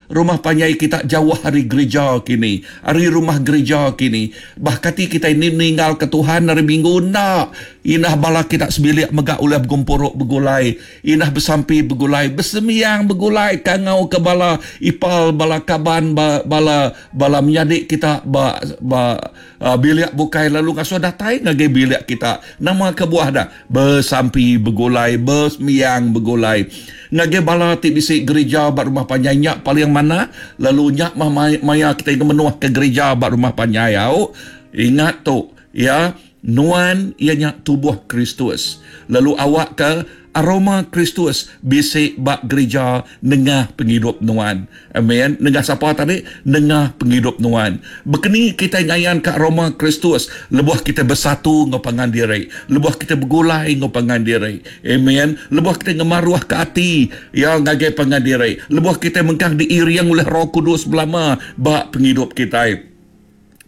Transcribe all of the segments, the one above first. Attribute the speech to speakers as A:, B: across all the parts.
A: rumah panjai kita jauh ari gerija kini, ari rumah gerija kini. Bah kati kitai ni ninggalka Tuhan hari Minggu? Enda. Indah bala kita sebilik mega ulih begempuru begulai, indah besampi begulai, besembiang begulai, kangauka bala ipal, bala kaban, bala bala menyadi kita ba ba bilik bukai lalu ngasuh datai ngagai bilik kita. Nama kebuah dah? Besampi begulai, besembiang begulai. Ngagai bala ti bisi gerija ba rumah panjai nya paling manah lalu nya mah maya kitai ngemenuhka gerija ba rumah panjai au. Ingat tu, ya, nuan iya nya tubuh Kristus lalu awakka Aroma Kristus bisi ba gerija nengah pengidup nuan. Amen. Nengah sapa tadi? Nengah pengidup nuan. Bekeni kitai ngayanka aroma Kristus lebuh kitai besatu enggau pangan diri, lebuh kitai begulai enggau pangan diri. Amen. Lebuh kitai ngemaruhka ati iya ngagai pangan diri, lebuh kitai mengkang diiring ulih Roh Kudus belama ba pengidup kitai.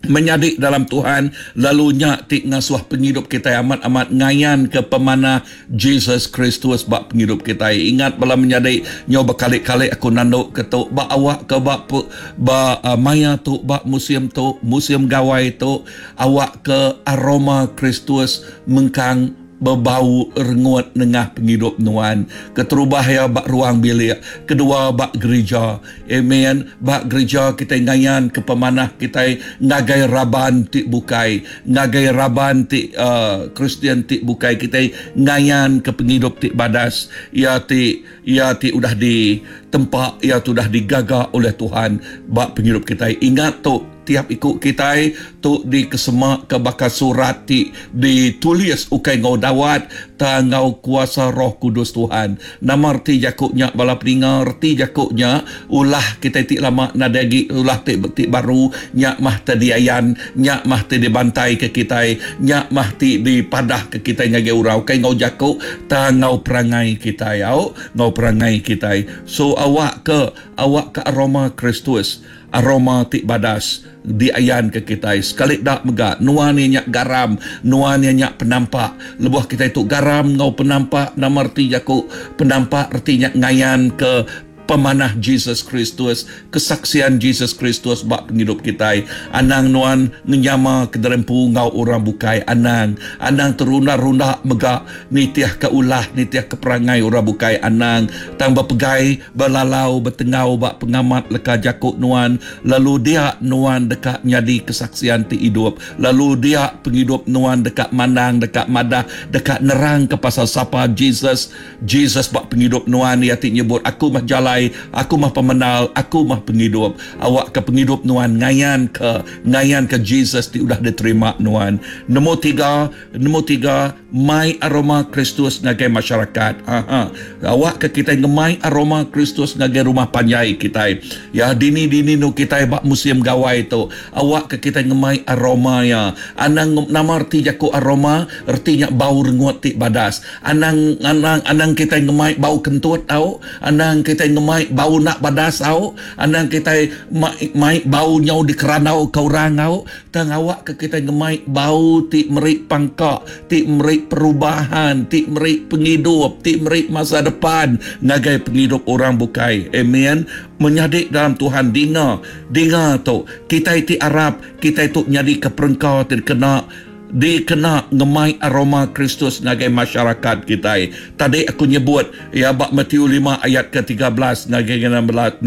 A: Menyadi dalam Tuhan, lalu nya ti ngasuh pengidup kitai amat-amat ngayanka pemanah Jesus Kristus ba pengidup kitai. Ingat bala menyadi, nyau bekali-kali aku nandu ke tu ba awak ke ba ba maya tu ba musim tu, musim gawai tu, awak ke aroma Kristus mengkang Bebau rengut nengah pengidup nuan. Keterubah iya ba ruang bilik, kedua ba gerija. Amen. Ba gerija kitai ngayanka pemanah kitai ngagai raban ti bukai, ngagai raban ti uhh Kristian ti bukai kitai ngayanka pengidup ti badas iya ti iya ti udah ditempa iya ti udah digaga oleh Tuhan ba pengidup kitai. Ingat tu. Tiap iku kitai tu dikesemaka baka surat ti ditulis ukai enggau dawat tang enggau kuasa Roh Kudus Tuhan. Nama reti jaku nya bala peninga? Reti jaku nya ulah kitai ti lama nadai agi ulah ti ti baru nya mah ti diayan, nya mah ti dibantaika kitai, nya mah ti dipadahka kitai ngagai orang ukai enggau jaku tang enggau perangai kitai au enggau perangai kitai. So awakka awakka aroma Kristus Aroma ti badas diayanka kitai sekali da mega nuan iya nya garam, nuan iya nya penampak. Lebuh kitai tu garam enggau penampak nama reti jaku penampak reti nya ngayanka pemanah Jesus Kristus, kesaksian Jesus Kristus ba pengidup kitai. Anang nuan ngenyama kederempu enggau orang bukai anang. Anang terunda-runda mega nitihka ulah nitihka perangai orang bukai anang tang bepegai Belalau betengau ba pengamat leka jaku nuan, lalu dia nuan deka nyadi kesaksian ti idup, lalu dia pengidup nuan deka mandang, deka madah, deka nerangka pasal sapa Jesus, Jesus ba pengidup nuan, iya ti nyebut, Aku meh jalai, Aku meh pemendar, Aku meh pengidup. Awakka pengidup nuan ngayanka, ngayanka Jesus ti udah diterima nuan. Nombor tiga, nombor tiga, Mai aroma Kristus ngagai masyarakat. Aha. Awakka kitai ngemai aroma Kristus ngagai rumah panjai kitai. Ya, dini-dini nu kitai ba musim gawai tu. Awakka kitai ngemai aroma iya. Anang nama reti jaku aroma? Reti nya bau rengut ti badas. Anang anang anang kitai ngemai bau kentut au. Anang kitai ngemai bau enda badas au. Anang kitai mai mai bau nyau dikerandauka orang au. Tang awakka kitai ngemai bau ti meri pangka, ti meri perubahan, ti meri pengidup, ti meri masa depan ngagai pengidup orang bukai. Amen. Menyadi dalam Tuhan dinga, dinga tu. Kitai ti arap, kitai tu nyadika perengka ti dikena dikena ngemai aroma Kristus ngagai masyarakat kitai. Tadi aku nyebut iya ba Matthew lima ayat ke 13 ngagai 16.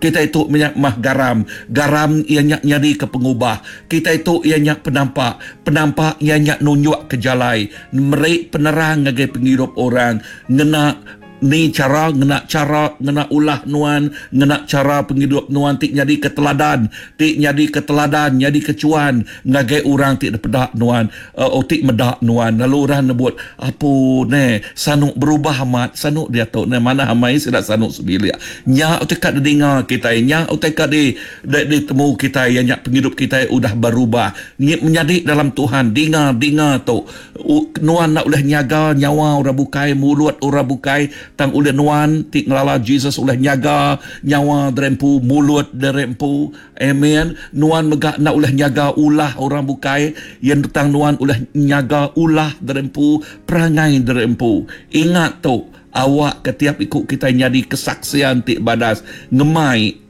A: Kitai tu menya mah garam. Garam iya nya nyadika pengubah. Kitai tu iya nya penampak. Penampak iya nya nunjukka jalai, meri penerang ngagai pengidup orang ngena Ni chara ngena chara ngena ulah nuan ngena chara pengidup nuan ti nyadika teladan ti nyadika teladan nyadika chuan ngagai orang ti dipeda nuan uh ti meda nuan lalu orang nyebut apu neh sanu berubah amat sanu diatu neh manah amai sida sanu sebilik nya utai ka didinga kitai nya utai ka di ditemu kitai iya nya pengidup kitai udah berubah menyadi dalam Tuhan dinga dinga tu. Nuan enda ulih nyaga nyawa orang bukai, mulut orang bukai, tang ulih nuan ti ngelala Jesus ulih nyaga nyawa diri empu, mulut diri empu. Amen. Nuan mega enda ulih nyaga ulah orang bukai, tang nuan ulih nyaga ulah diri empu, perangai diri empu. Ingat tu, awakka tiap iku kitai nyadi kesaksian ti badas ngemai.